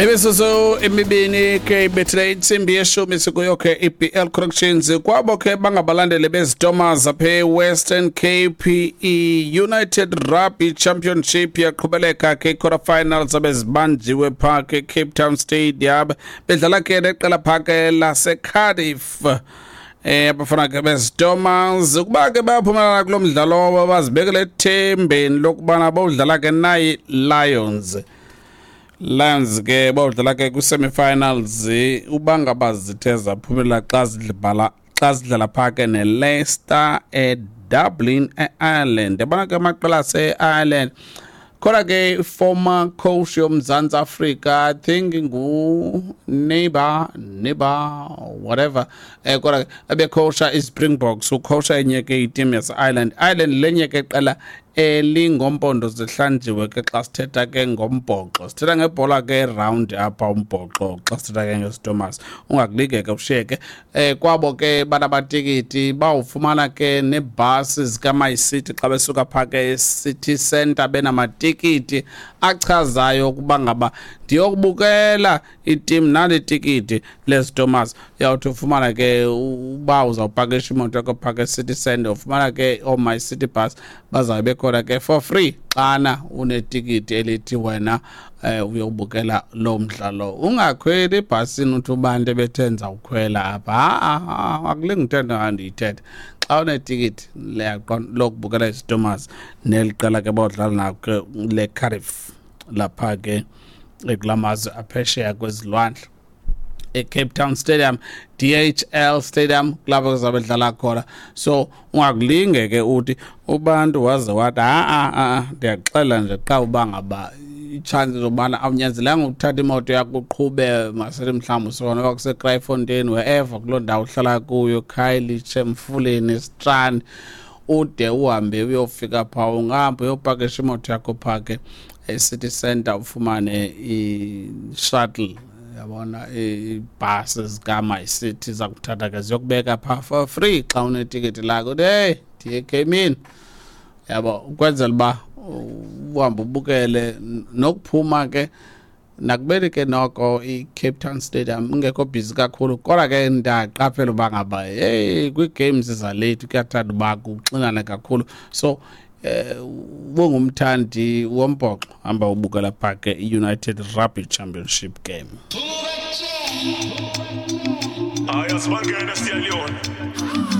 Imizuzu emibini ke ibethile intsimbi yeshumi, sikuyo ke i-BL Corrections. Kwabo ke bangabalandeli beziTomas apha e-Western Cape, i-United Rugby Championship yaqhubeleka ke, i-quarter finals abezibanjiwe phaa ke Cape Town Stadium, bedlala ke neqela phaa ke laseCardiff. Abafana ke beziTomas, ukuba ke bayaphumelela kulo mdlalo, bazibekele ethembeni lokubana bawudlala ke nayi Lions. Lions ke bawudlala ke kwi-semi-finals uba ngaba zithe zaphumelela xa zidlala phaa ke neLeicester eDublin, e-Ireland. Yabona ke amaqela ase-Ireland, khona ke former coach yoMzantsi Afrika, I think ngu-Neighbor Neighbor whatever, kodwa ke ebecoacha iSpringboks, ucoacha enye ke iteam yase-Ireland. Ireland lenye ke qela elingompondo zihlanjiwe ke xa sithetha ke ngombhoxo, sithetha ngebhola ke round apha umbhoxo. Xa sithetha ke ngeStormers, ungakulike ke ushiyeke. Kwabo ke banabatikiti bawufumana ke nebhasi zikaMyCiti xa besuka phaa ke e-city centre benamatikiti achazayo ukuba ngaba ndiyokubukela itim, nali tikiti leStormers. Uyawuthi ufumana ke uba uzawupakisha imoto yakho phaa ke-city centre, ufumana ke ooMyCiti Bus bazawube bekhona ke for free xana unetikiti elithi wena uyobukela lo mdlalo. Ungakhweli ebhasini uthi ubantu ebethe ndizawukhwela apha. Ha, akulingi uthetha ndiyithetha. Xa unetikiti lokubukela iStormers neli qela ke bawudlala nako ke leCardiff lapha ke kula mazwe aphesheya kwezilwandle, eCape Town Stadium, DHL Stadium, kulapho kuzabe dlala khona. So ungakulinge ke uthi ubantu waze wathi ha a, ndiyaxela nje xa uba ngaba itshansi zobana awunyanzelanga ukuthatha imoto yakho uqhube. Masithi mhlawumbi usuka noba kuseKraaifontein, wherever kuloo ndawo uhlala kuyo, Khayelitsha, Emfuleni, Strand, ude uhambe uyofika phaa, ungahamba uyopakisha imoto yakho phaa ke e-city center, ufumane i-shuttle, yabona, iibhasi zikaMyCiti zakuthatha ke ziyokubeka phaa for free xa unetikiti lakho uthi, "Hey, ndiye egemini," yabo, ukwenzela uba uhambe ubukele nokuphuma ke. Nakubeni ke noko i-Cape Town Stadium ingekho busy kakhulu, kodwa ke ndiyaqaphela uba ngaba hey, kwii-games zalate kuyathanda uba kuxinane kakhulu. So ubungumthandi wombhoxo, hamba ubukela phaa ke i-United Rugby Championship game. Hayi, asibangene siyaliyona.